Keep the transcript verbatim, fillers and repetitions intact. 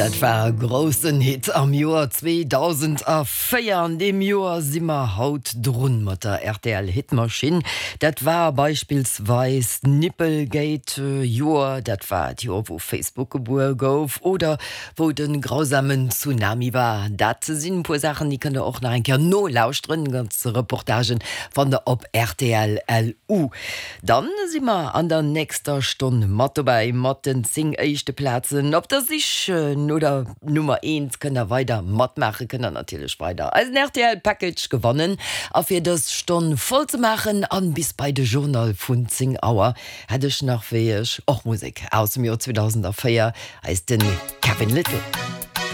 Dat war e groussen Hit am Joer zweedausendvéier. An deem Joer si mer haut drun mat der R T L Hitmaschinn. Dat war beispillsweis Nippelgate Joer, dat war d'Joer, wou Facebook gebuer gouf oder wou de grausamen Tsunami war. Dat sinn e puer Saachen, déi kënnt der och nach eng Kéier nolauschteren, ganz Reportagen fannt der op R T L L U. Dann si mer an der nächster Stonn mat dobäi mat den zéng éischte Plazen op der Sich no der Nummer eent. Kënnt der weider matmaachen, kënnt der natierlech weider eisen R T L Package gewannen. A fir dës Stonn voll ze maachen an bis bei de Journal vun zéng Auer hätt ech nach wéi ech och Musek aus dem Joer zweedausendvéier, eis den Kevin Lyttle.